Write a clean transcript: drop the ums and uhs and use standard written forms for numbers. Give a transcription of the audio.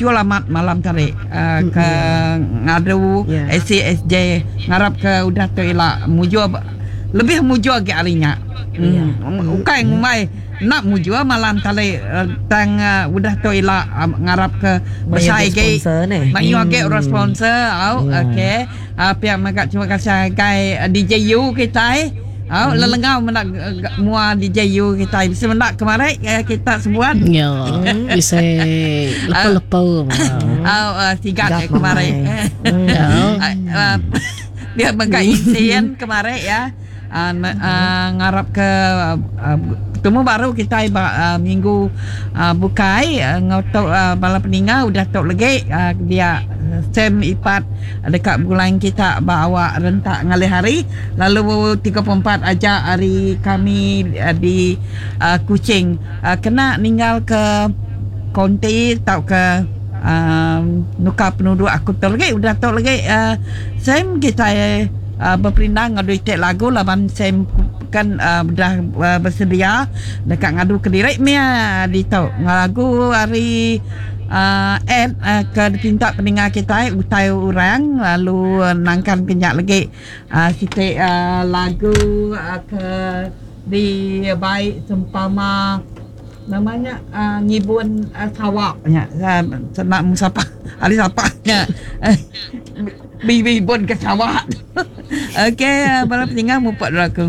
Mujur amat malam tadi ke ngadu ACSJ ngarap ke udah tu ila mujur lebih mujur agi ari nya. Ukai ngumbai enda mujur malam tadi tang udah tu ila ngarap ke besai agi mayuh agi orang sponsor au okey. Pia mega terima kasih ngagai DJU kitai. Au lelengau meda mua DJU kitai bisi meda kemari kita sebuat. Ya, bisi lepa-lepa. Au sigat kemari. Dia mega isin kemari ya. Ngarap ke betemu baru kitai ba minggu bukai enggau tu bala peninga udah tu legi dia Sam Ipat deka begulai kita ba awak rentak ngalih hari lalu 34 aja ari kami di Kuching kena ninggal ke konti tauka nukar penuduk aku tu legi udah tu legi Sam kitai Beperindang ngadu iti lagu laban Sam kan udah besedia deka ngadu kediri mih ditu. Lagu ari Ed ke dipinta peninga kitai utai orang lalu nangkan ke nya legi siti lagu ke dibai sempama Nama nya ngibun sawa nya sena mung sapa ari sapa nya bibun ke sawa. Okey bala peninga mupok dulu aku.